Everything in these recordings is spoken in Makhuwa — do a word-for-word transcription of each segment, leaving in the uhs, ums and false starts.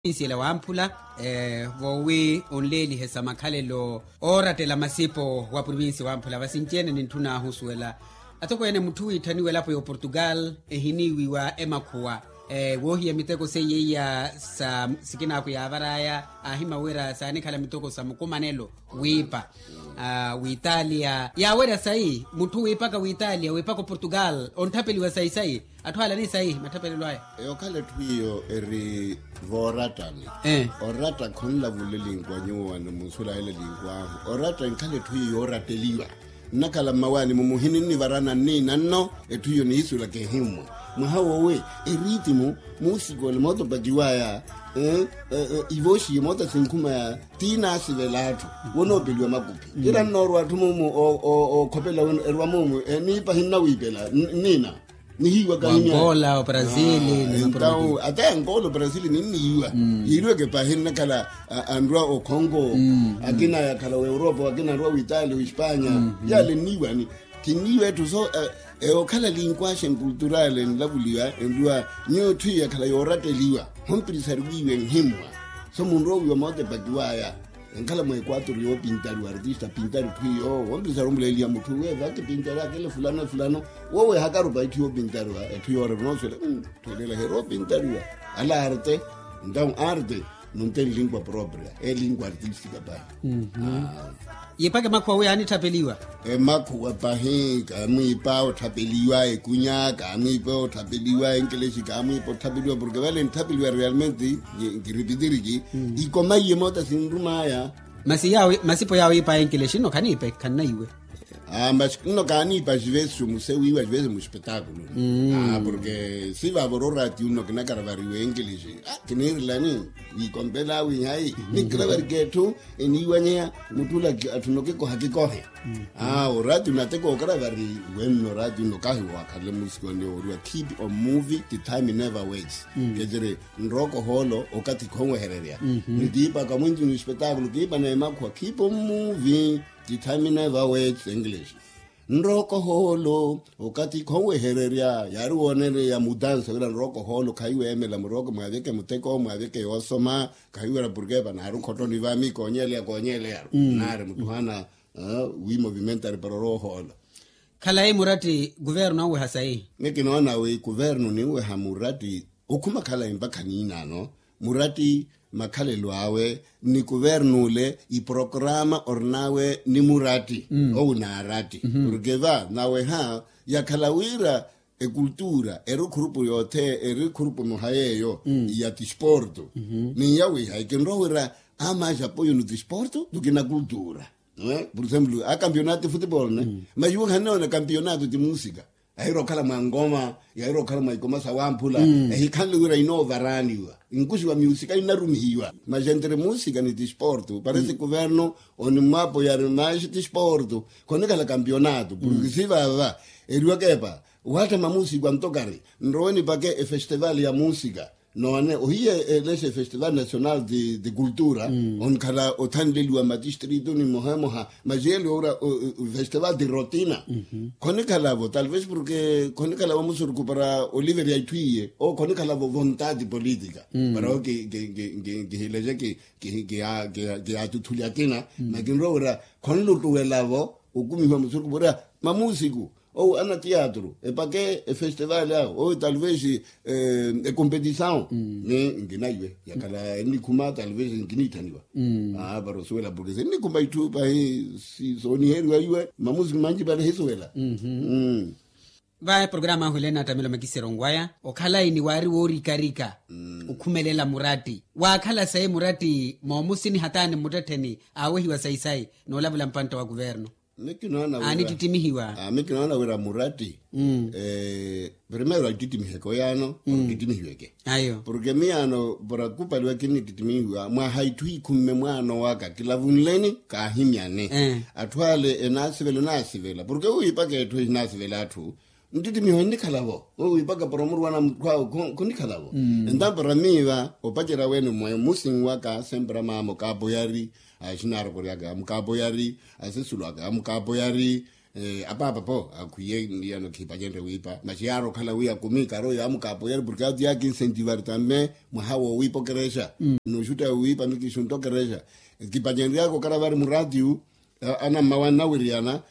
Provincia la wamphula, voowi onleelihe sa makhalelo oorattela masipo wa provincia wamphula vasinci-ene nintthun'ahu osuwela atokweene mutthu wiitthaniwa elapo ya oportugal ehiniiwiwa emakhuwa, woohiya miteko seiya iya sa sikin'aku yaavar'aya aahimawira saanikhala miteko sa mukumanelo wiipa, w'italia yaawerya sayi mutthu wiipaka w'italia wiipaka oportugal ontthapeliwa sayi sayi. Atthu ala ni sayi matthapelelo aya. Okhala etthu iyo eri voorattani. Oratta khonlavula elinkwa nyuwo wani munsulayela elinkwahu oratta enkhala etthu iyo yooratteliwa. Nnakhala mmawaani mumuhini nnivarana nniina nno etthu iyo nihisulaka ehimmwa. Mwaha wowe eritimu, muusikole mootopakiwaya, ivooxiye moota sinkhumaya ti naasivela atthu wonoopeliwa makuphi. Kira nnoorwa atthu mumu ookhopela erwa mumu eniipa hinnawiipela nniina. Nihiiwa kahinya. Angola, o brazil. Entawu ata ya angola o brazil ninniiwa. Yiiriweke pahi nnakhala anrwa okhongo, akina yakhala w'europa akina anrwa w'italia w'espanya. Yale nniiwani kinniiwa etthu so. Okhala linkwasha enkulturale enlavuliwa enrwa nyuwo etthu iyo yakhala yooratteliwa. Hompirisari wiiwa enhimmwa so munroowiwa mootepakiwaya. Enkhala mwekwaturu yoopintariwa artista apintari etthu iyo wompisa aromuleeliha mutthu uwe vakipintari akele fulano efulano. Wowe hakarupa etthu yoopintariwa etthu yoorerwa onooswela. Etthu eleela heroopintariwa ala arte. Entawu arte nunte nlingua propria elingua artistika pahi. Yipaka emakhuwa wi yaanitthapeliwa. Emakhuwa pahi kaamwiipa otthapeliwa ekunya kaamwiipa otthapeliwa enkelexi kaamwiipa otthapeliwa porke vale ntthapeliwa realmente. Nkiripitiriki ikomaiye moota sinrumaya. Masi yawi masipo yawi ipa enkelexi nno khaniipe khannaiwe. Masi nno kaaniipa xivesi xomusewiwa xivesi muxipetaakulu. Porke sivavoro oraatiyu nno kinakaravariwa enkelexi kiniirilani. Wiikompela wihayi nikkiravarika etthu eniiwanyeya. Mutthu ola atthu nno kikoha kikohe. Oraatiyu nateko okaravari wenno oraatiyu nno kahiwa wakhalle musiku anne wooriwa keep on moving the time never waits. Keciri nrooko hoolo okathi khonwehererya. Nitiipaka mwinci ni espetakulu kiipana emakhuwa keep on moving the time never waits english. Nrooko hoolo okathi khonwehererya yaari woonereya mutanse wira nrooko hoolo khayi weemela murooko mwaaveke muteko mwaaveke yoosoma. Khayi wira porke vanaari okhottoni vaami koonyeleya koonyeleyaru naari mutthu haana wi movimentari para oroohoola. Khalayi muratti kuvernu anweha sayi. Ni kinoona wi kuvernu ninweha muratti okhuma khalayi mpakha niinaano muratti makhalelo awe ni kuvernu ole iporokrama orinawe ni muratti owu naaratti porke va naweha yakhala wira ekultura eri okhurupu yoothe eri okhurupu emoha yeeyo ya tisporto. Ni yawiha ekinrowa wira ama ajapoyo ni tisporto ni kinakultura. Por exemplo a campeonato de futebol ne majuwe khanoona campeonato de musika. Ahira okhala mwa ngoma yahira okhala mwa ikoma sawamphula ehikhanle wira inoovaraaniwa nkuxiwa miusika inarumihiwa. Mas entre musika ni tisporto parece kuverno onimwapo yari mas tisporto khonikhala campeonato porke sivava eriwakepa wattha mamusiku antokari nrowe nipake efestival ya musika. Noone ohiye eleshe efestival national de cultura onkhala othanleliwa matistrito ni moha emoha mas yeli owura festival de rotina. Khonikhalavo talvez porke khonikhalavo musurukhu para oliver ya itthu iye owo khonikhalavo vontade politika para owo kihileje kiyatutthuli akina. Makinrowa wira khonluttuwelavo okumihiwa musurukhu porya mamusiku owu ana tiyatru epake efestival awo owu talvez ekompetisawu. Ni nkinaiwe yakhala ennikhuma talvez nkiniitthaniwa. Para osuwela porke sennikhuma itthu pahi sooniheriwa iwe mamusiku manci para ehisuwela. Vaye programa ahu elena attamelo makisero ngwaya okhalayi ni waari woorikarika okhumelela muratti waakhala sayi muratti moomusini hataani mmuttettheni aawehiwa sayi sayi noolavula mpantta wa kuvernu. Aani ttittimihiwa. Ami kinoona wira muratti primero attittimihiweke oyaano. Ttittimihiweke ayo porke miyaano para kupaliwa kinni ttittimihiwa mwaha itthu ikhumme mwaano waka kilavunleni kaahimyane. Atthu ale enaasivela enaasivela porke wiipaka etthu ehinasivela atthu nttittimiho ennikhalavo. Wiipaka para omurwana mutthu awe khonikhalavo. Entampara miiva opacerya wene mwe musinwaka sempara maama okapoyari axinaarokoryaka amukapoyari asesulwaka amukapoyari. Apaapa po akhwiye niyano khipacenrye wiipa maxi yaari okhala wi akumi karo yaamukapoyeri porke ati yaakinsentivari tamme. Mwaha woowiipa okerexa. N'uxutta wiipa mikixuntta okerexa. Kipacenryaka okaravari muratiu. Anammawa nnawiriyana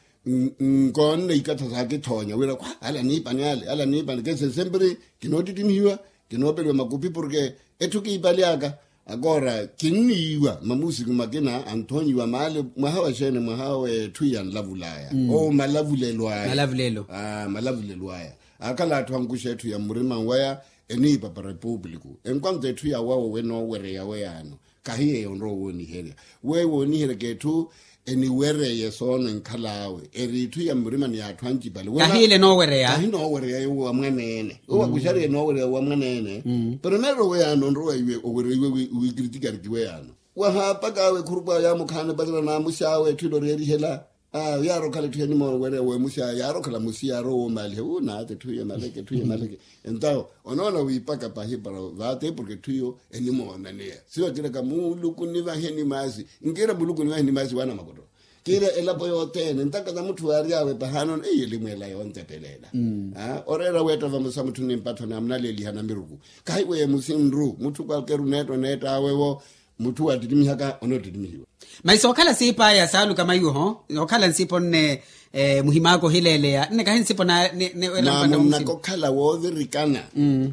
nkoonne ikatha saakithoonya wira khwa ala niipani ale ala niipani kesi esempiri. Kinoottittimihiwa kinoopeliwa makupi porke etthu kiipaly'aka. Akoora kinniiwa mamusiku makina anthoonyiwa maale mwaha wa xeene mwaha w'etthu ya nlavul'aya. Owo malavulelo aya. Malavulelo aya. Akhala atthu ankuxa etthu ya mmurima waya eniipa para epuupuliku enkwanto etthu ya wawo wenoowereya weyaano. Kahi yeeyo onrowa wooniherya. Weyo wooniheryaka etthu eniwereye soono enkhal'awe eri itthu ya mmurimani ya atthu ancipale. Kahiile enoowereya kahi enoowereya yowo wa mwaneene owo akuxariye enoowereya wa mwaneene. Primero weyaano onrowa iwe owereiwe wiikiritikariki weyaano wahaapak'awe ekhurup'awe yaamukhaana epatela n'amux'awe etthu ilo oreerihela. Yaari okhala etthu enimoona owereya wemux'awe yaari okhala musi yaari owoomaliha wu naata etthu iyo emaleke etthu iyo emaleke. Entawo onoona wiipaka pahi para vaate porke etthu iyo enimoonaneya siyo akiraka muluku nivahe nimaasi. Nkira muluku nivahe nimaasi waana makoto. Kira elapo yothene ntaka na mutthu waary'awe pahaanoona eyi elimweela yoontepelela. Oreera weetta vamosa mutthu nimpatho namunaleeliha namiruku. Kahi weemusi nru mutthu kwalkeru neetta oneett'awe-wo. Mutthu waattittimiha ka onoottittimihiwa. Masi sookhala siip'aya saaluka maiwo ho sookhala nsipo nne muhim'aka ohileeleya nne kahi nsipo naamunnaka okhala woovirikana.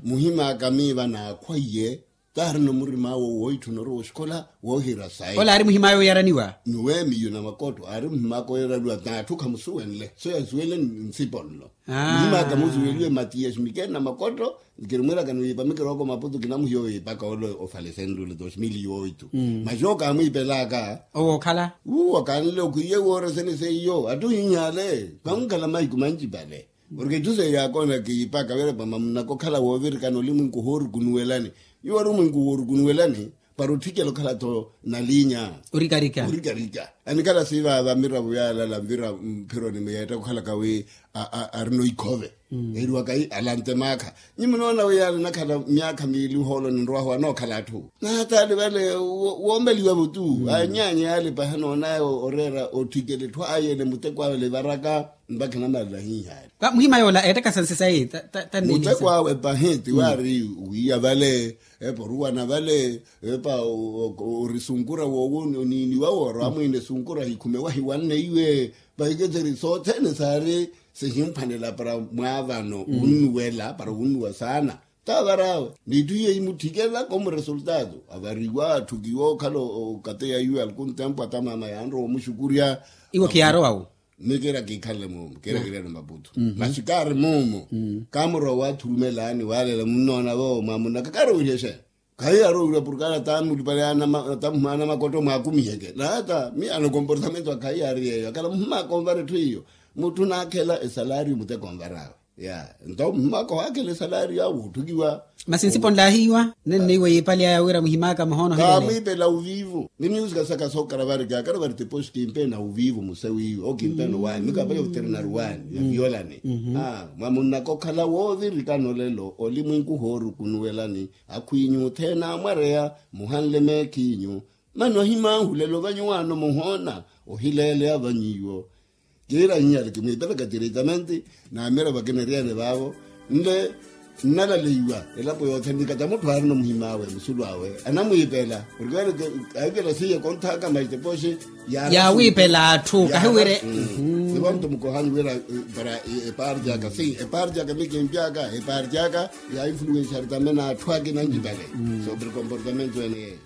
Muhim'aka miiva naakhwaiye taarina omurim'awe wooitthuna orowa oxikola woohira sayi. Ola aari muhim'awe oyaraniwa. Ni weemiyo na makotto aari muhim'aka oyaraniwa n'atthu khamusuwenle so yasuwenle nsipo nlo. Muhim'aka musuweliwe matiyasi mikene na makotto. Nkirimwiiraka ni wiipa mikiroko maputu kinamuhiya owiipaka ole ofalesenrule dos mil yooitu. Masi owo kaamwiipelaka owo okhala uwo kanle okhwiye wooresene seiyo atti ohinhale. Kankhala mahiku mancipale. Porke etthu seiyo yaakoona kiipaka wira pamamunaka okhala woovirikana olimwinki ohoorukunuwelani. Iwo arimwinki woorukunuwelani para otthikela okhala-tho nalinya orikarika. Anikhala siivaava miravo yaalala mvira mphironi muyeetta okhalaka wi arina oikhove. Eriwaka wi alante maakha. Nyi munoona wi yaalinakhala myaakha miili ohooloni nrowahu anookhala atthu naataali vale. Woomeliwa-vo tu anyaanya yaali pahi anoonaya oreera otthikela etthu ayeene muteko awe livaraka. Mpakha namalala ahinhaali muhima yoola eettakasa nsi sayi. Muteko awe pahi ti waari wiiya vale epa oruwana vale epa orisunkura woowo oniiniwa wooro amwiine sunkura hikhume wahiwanne iwe. Vahiketseri sothene saari sihimphwanela para mwaavano wunnuwela para wunnuwa saana. Taavar'awe n'itthu iyo imutthikela komu resultado avariwa atthukiwa okhala okateya iwe alkun tempu ata mama yaanrowa omuxukurya. Iwo khiyaarowa-wo. Mmi kiira kiikhanle muumu kiira kiirene maputu masi kaari muumu. Kaamurowa waathurumelaani waalela munnoona-vo mwamunnaka kaari owiiryexeya. Khayi yaari owiirya porke aari ataamulupale atamuhimana makotto mwaakumiheke naata mi anokomportamento akhayi yaari yeeyo akhala muhimaka onvara etthu iyo. Mutthu naakhela esalaariyo muteko onvar'awe. Nto muhimaka ohaakhela esalaariyo awe wootthukiwa. Masi nsipo nlaahiiwa nenneiwe yiipali aya wira muhimaka muhoona ohileele. Kaamwiipela oviivo ni miusika saka sookaravari kaakaravari tiposi kimpeena oviivo musa wiiwe owo kimpeena owaani mikaapali oveterinaru waani ya violani. Mwamunnaka okhala woovirikana olelo olimwinki ohoorukunuwelani akhwiinyu othene amwareya muhanle meekhiinyu. Mani ohimanhu lelo vanyuwaano muhoona ohileeleya vanyuwo. Kiira hinyale kimwiipelaka tireitamenti naamira vakina eriyene vaavo nle nnalaleiwa elapo yothene nikata mutthu aarina omuhim'awe musulu awe anamwiipela porke vale ahikela siye konthaka maitepoxi yaawiipela atthu kahiwire. Nivanto mukohani wira para epaarti aka si epaarti aka mikimpyaka epaarti aka ya influenxari tamena atthu akina ancipale sobre comportamento ene yeyo.